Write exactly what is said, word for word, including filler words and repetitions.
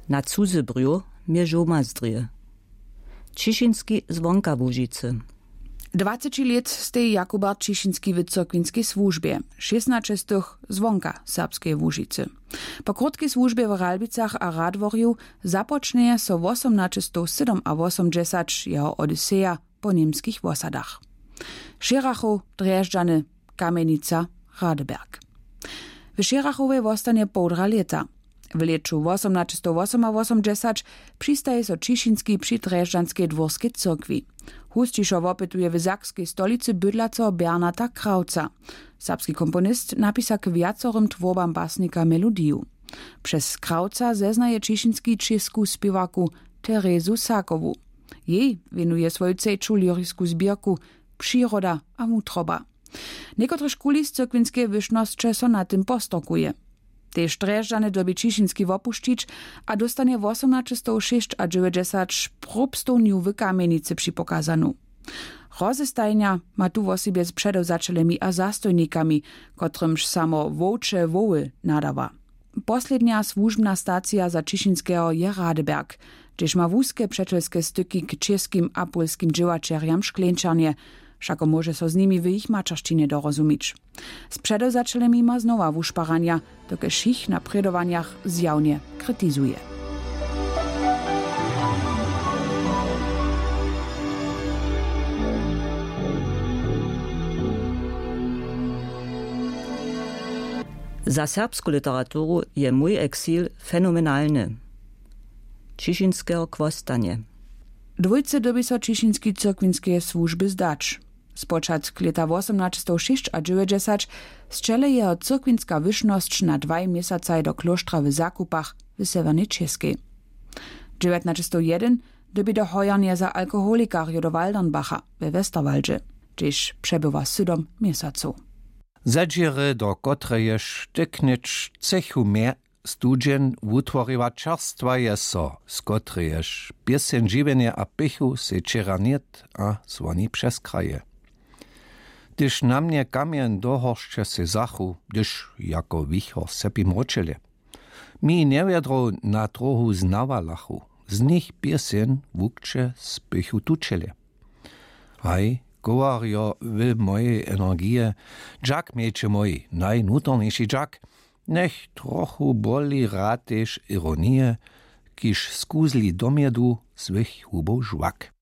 Na cuzy brjóh mje žołma zdrě. Ćišinski zwonka Łužicy. Dwaceći lět steji Jakubert Ćišinski w cyrkwinskej słužbje, šěstnaće z tych zwonka serbskeje Łužicy. Po krótkej słužbje w Ralbicach a Radworju započnjeje so wosomnaćestowsydomawosomdźesać jeho odyseja po němskich wosadach. Šěrachow, Drježdźany, Kamjenica, Radeberg. W Šěrachowje wostanje połdra lěta. W lěću wosomnaćestowosomawosomdźesać přistaji so Ćišinski při Drježdźanskej dwórskej cyrkwi. Husćišo wopytuje w sakskej stolicy bydlaceho Bernata Krawca. Serbski komponist napisa k wjacorym twórbam basnika melodiju. Přez Krawca zeznaje Ćišinski čěsku spěwarku Terezu Sakowu. Jej wěnuje swoju třeću lyrisku zběrku Přiroda a wutroba. Někotrež kuli z cyrkwinskeje wyšnosće so na tym postorkuje. Tež Drježdźany dyrbi Ćišinski wopušćić a dóstanje wosomnaćestowšěsćadźewjećdźesać próbstownju w Kamjenicy připokazanu. Rozestajnja ma tu wosebje z předewzaćelemi a zastojnikami, kotrymž samo wowče woły nadawa. Poslednja słužbna stacija za Ćišinskeho je Radeberg, hdźež ma wuske přećelske styki k čěskim a pólskim dźěłaćerjam w Škleńčarnje. Wšako móže so z nimi w jich maćeršćinje dorozumić. Z předewzaćelemi ma znowa wušparanja, dokelž jich na prědowanjach zjawnje kritizuje. Za serbsku literaturu je mój eksil fenomenalny. Ćišinskeho chłostanje. Dwójce dyrbi so Ćišinski cyrkwinskeje słužby zdać. Spočatk lěta wosomnaćestowšěsćadźewjećdźesać sćele jeho cyrkwinska wyšnosć na dwaj měsacaj do klóštra w Zakupach w Sewjernej Čěskej. Dźewjatnaćestowjedyn dyrbi do hojarnje za alkoholikarjow do Waldernbacha we Westerwaldźe, hdźež přebywa sydom měsacow. Zadźěry, do kotrejež tyknyć chcechu mje studźeń wutworiła, čerstwaje so, z kotrejež pěseń žiwjenje a pěchu sej wčera nět a zwoni přez kraje. Hdyž na mnje kamjeń do horšće sej zachu, hdyž jako wichor sepi mróčelje. Mi njewjedrow na trohu znawalachu, z nich pěseń wukće z pěchu tučelje. Haj, kowarjo w mojej energije, dźak, mječe mój, najnutorniši dźak, njech trochu boli rad tež ironije, kiž skuzli do mjedu swych hubow žwak.